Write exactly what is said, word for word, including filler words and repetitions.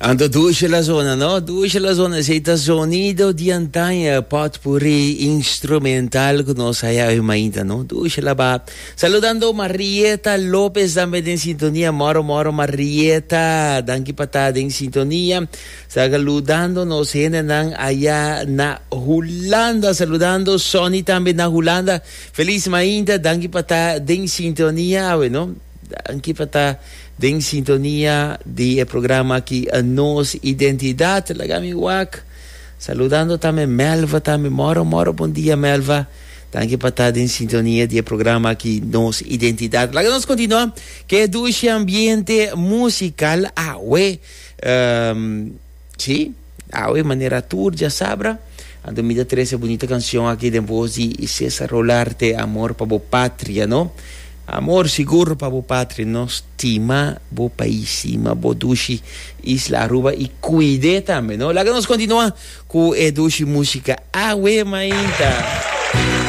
Anto dushi la zona, no? Dushi la zona, esey ta Sonido di Antaño, potpourri instrumental cu nos haya mainta, no? Dushi la ba. Saludando Marieta Lopez tambe den sintonia, moro moro Marieta, danki pa ta den sintonia. Saludando nos hendenan aya na Hulanda, saludando Sonny tambe na Hulanda. Feliz mainta, danki pa ta den sintonia, no? Danki pa ta den sintonia di programa aki Nos Identidad. Laga mi wak. Saludando tambe Melva tambe. Moro, moro, bon dia Melva. Danki pa ta den sintonia di programa aki Nos Identidad. Laga nos continua cu dushi ambiente musical awe. Um, si, awe manera tur diasabra. Anto mi ta trece bunita cancion aki di voz di Cesar Rolarte, Amor pa bo Patria, no? Amor sigur pa bo patria, no? Stima bo pais, stima bo dushi isla Aruba y cuid'e tambe, no? Laga nos continua cu e dushi musica awe mainta.